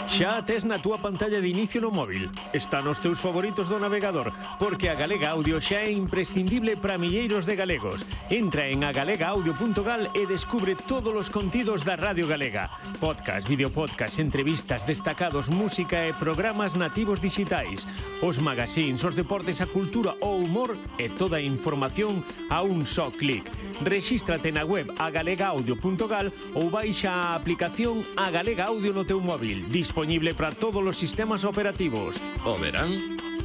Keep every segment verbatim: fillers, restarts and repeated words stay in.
Xa a tes na túa pantalla de inicio no móvil. Está nos teus favoritos do navegador, porque a Galega Audio xa é imprescindible para milleiros de galegos. Entra en a galega audio punto gal e descubre todos os contidos da Radio Galega. Podcast, videopodcast, entrevistas, destacados, música e programas nativos digitais. Os magazines, os deportes, a cultura, o humor e toda a información a un só clic. Rexístrate na web a galega audio punto gal ou baixa a aplicación A Galega Audio no teu móvil, disponible para todos os sistemas operativos. O verán,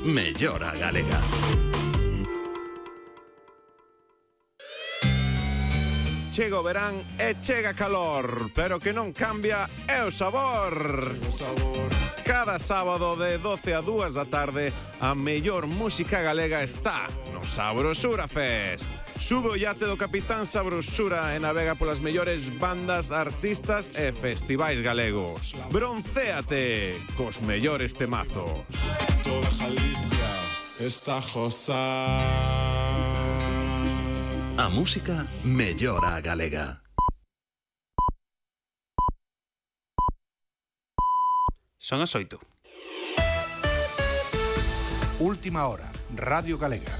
mellor a galega. Chega o verán e chega calor, pero que non cambia é o sabor. Cada sábado de doce a dúas da tarde, a mellor música galega está no Sabrosura Fest. Sube o iate do Capitán Sabrosura e navega polas mellores bandas, artistas e festivais galegos. Broncéate cos mellores temazos. Toda Galicia está josa. A música mellora a galega. Son as oito. Última hora, Radio Galega.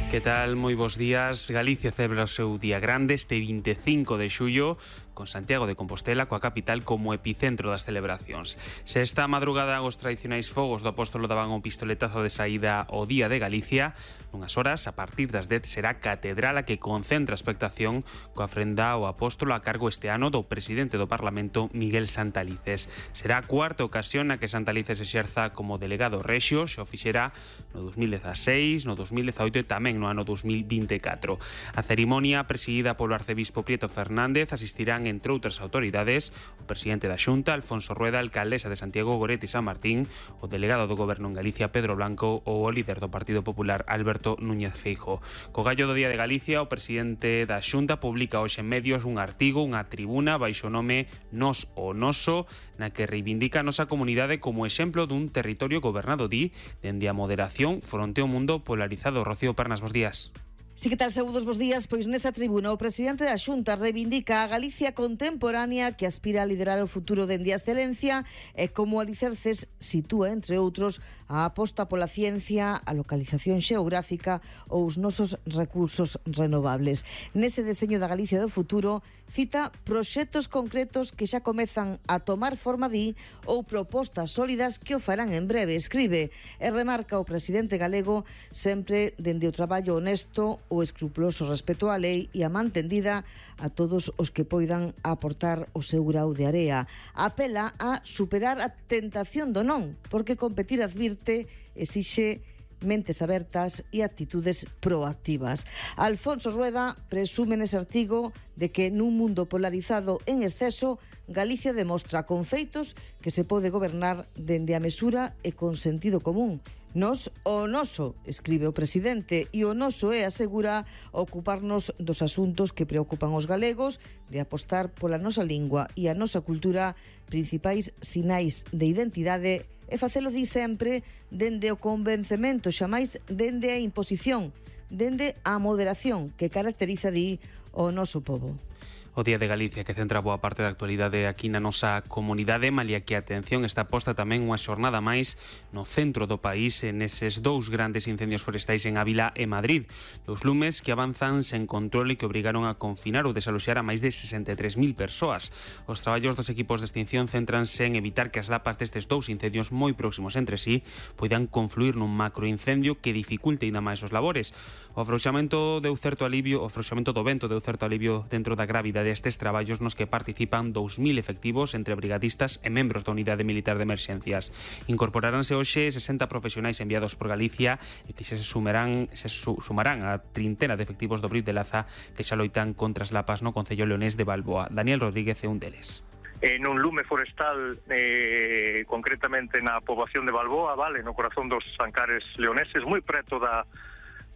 Que tal? Moi bons días. Galicia celebra o seu día grande este vinte e cinco de xullo, con Santiago de Compostela, coa capital, como epicentro das celebracións. Se esta madrugada os tradicionais fogos do Apóstolo daban un pistoletazo de saída ao Día de Galicia, nunhas horas, a partir das dez, será catedral a que concentra a expectación coa ofrenda ao Apóstolo a cargo este ano do presidente do Parlamento, Miguel Santalices. Será a cuarta ocasión na que Santalices exerza como delegado rexio, xa o fixera no dos mil dezaseis, no dos mil dezaoito e tamén no ano dos mil vinte e catro. A cerimonia, presidida polo arcebispo Prieto Fernández, asistirán entre outras autoridades o presidente da Xunta, Alfonso Rueda, a alcaldesa de Santiago, Goretti San Martín, o delegado do Goberno en Galicia, Pedro Blanco, ou o líder do Partido Popular, Alberto Núñez Feijóo. Co gallo do Día de Galicia, o presidente da Xunta publica hoxe en medios un artigo, unha tribuna baixo o nome Nos o Noso, na que reivindica a nosa comunidade como exemplo dun territorio gobernado, di, dende a moderación fronte ao mundo polarizado. Rocío Pernas, bos días. Sí, que tal, saúdos, bos días. Pois nesa tribuna o presidente da Xunta reivindica a Galicia contemporánea que aspira a liderar o futuro dende a excelencia e como alicerces sitúa, entre outros, a aposta pola ciencia, a localización xeográfica ou os nosos recursos renovables. Nese deseño da Galicia do futuro cita proxectos concretos que xa comezan a tomar forma, di, ou propostas sólidas que o farán en breve, escribe, e remarca o presidente galego sempre dende o traballo honesto, o escrupuloso respeto á lei e a man tendida a todos os que poidan aportar o seu grau de area. Apela a superar a tentación do non, porque competir, advirte, exixe mentes abertas e actitudes proactivas. Alfonso Rueda presume nese artigo de que nun mundo polarizado en exceso, Galicia demostra con feitos que se pode gobernar dende a mesura e con sentido común. Nos o noso, escribe o presidente, e o noso é, asegura, ocuparnos dos asuntos que preocupan os galegos, de apostar pola nosa lingua e a nosa cultura, principais sinais de identidade, e facelo, di, sempre dende o convencemento, xamais dende a imposición, dende a moderación que caracteriza, di, o noso pobo. O Día de Galicia, que centra boa parte da actualidade aquí na nosa comunidade, malia que a atención está posta tamén unha xornada máis no centro do país, en eses dous grandes incendios forestais en Ávila e Madrid. Dos lumes que avanzan sen control e que obrigaron a confinar ou desaloxar a máis de sesenta e tres mil persoas. Os traballos dos equipos de extinción céntranse en evitar que as lapas destes dous incendios moi próximos entre sí poidan confluir nun macroincendio que dificulte ainda máis os labores. O afrouxamento deu certo alivio, o afrouxamento do vento deu certo alivio dentro da gravidade destes traballos nos que participan dous mil efectivos entre brigadistas e membros da Unidade Militar de Emerxencias. Incorporaranse hoxe sesenta profesionais enviados por Galicia e que se sumarán, se su, sumarán a trintena de efectivos do Brib de Laza que xa loitan contra as lapas no Concello leonés de Balboa. Daniel Rodríguez é un deles. En un lume forestal, eh, concretamente na poboación de Balboa, vale, no corazón dos Ancares leoneses, moi preto da,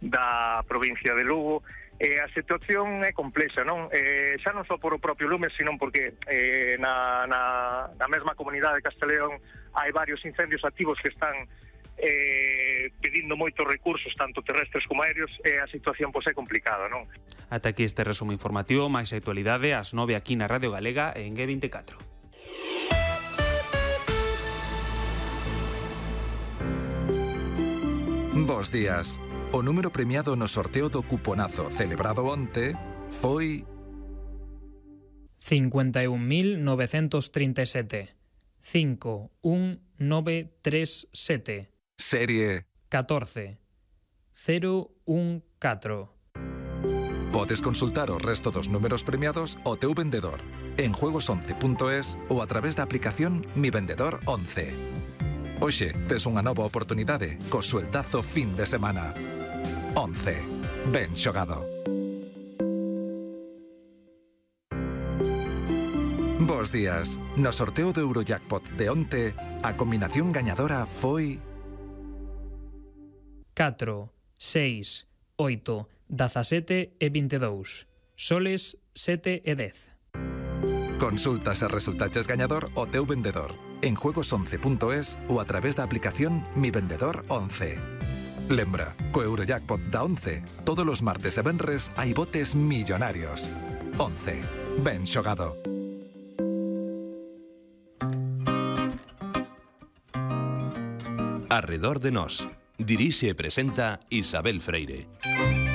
da provincia de Lugo. Eh, a situación é complexa, non? Eh, xa non só por o propio lume, sino porque eh, na, na, na mesma comunidade de Casteleón hai varios incendios activos que están eh, pedindo moitos recursos, tanto terrestres como aéreos, e a situación pois é complicada, non? Ata aquí este resumo informativo, máis actualidade, ás nove aquí na Radio Galega en G veinticuatro. Bos días. O número premiado no sorteo do cuponazo celebrado onte foi cincuenta y un mil novecientos treinta y siete. cinco uno nueve tres siete. Serie catorce cero uno catro. Podes consultar o resto dos números premiados ao teu vendedor en juegos once punto es ou a través da aplicación Mi Vendedor once. Hoxe tes unha nova oportunidade co sueltazo fin de semana. once. Ben xogado. Bos días. No sorteo do Eurojackpot de onte, a combinación gañadora foi catro, seis, oito, dezasete e vinte e dous. Soles sete e dez. Consulta se resultaches gañador o teu vendedor en juegos once punto es ou a través da aplicación Mi Vendedor once. Lembra, co Eurojackpot da once, todos os martes e venres hai botes millonarios. once. Ben xogado. Arredor de nós. Dirixe e presenta Isabel Freire.